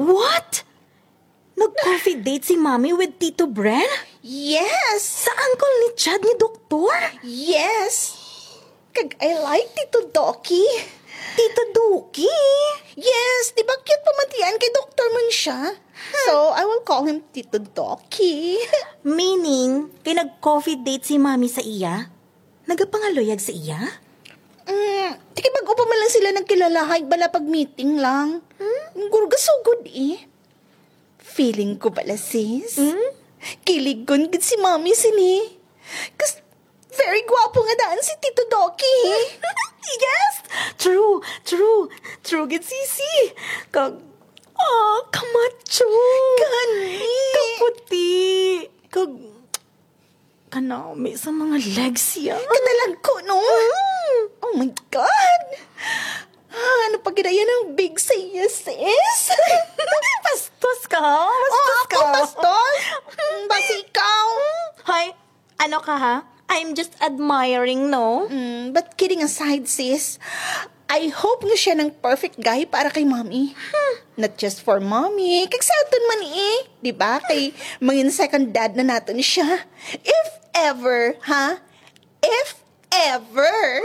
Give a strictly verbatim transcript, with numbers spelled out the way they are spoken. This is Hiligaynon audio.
What? Nag-coffee date si Mommy with Tito Bren? Yes! Sa uncle ni Chad ni Doktor? Yes! Kag I like Tito Doki. Tito Duki? Yes, di ba cute pamatian kay doktor man siya? So, I will call him Tito Doki. Meaning, kay nag-coffee date si Mommy sa iya? Nagapangaluyag sa iya? Mm, di kay bag-o pa man lang sila nagkilala, hay bala pag meeting lang. Guro gasugod eh. Feeling ko bala, sis. Kiligon gid si Mommy sini. Kas very gwapo nga daan si Tito Doki. Yes! True, true, true gid, sisi. Kag, ah, kamacho. Gani. Kaputi. Kag, kanami sa mga legs siya. Kadalagko, no? Oh my God! Ah, ano pa gid yan ang big sa iya, sis? Bastos ka, ha? Bastos Oh, ka. Ako, bastos? Mm, basi ikaw? Hoy, ano ka, ha? I'm just admiring, no? Mm, but kidding aside, sis, I hope nga siya nang perfect guy para kay Mommy. Not just for Mommy, kag sa aton man eh. Di ba? Kay mangin second dad na naton siya. If ever, ha? If ever.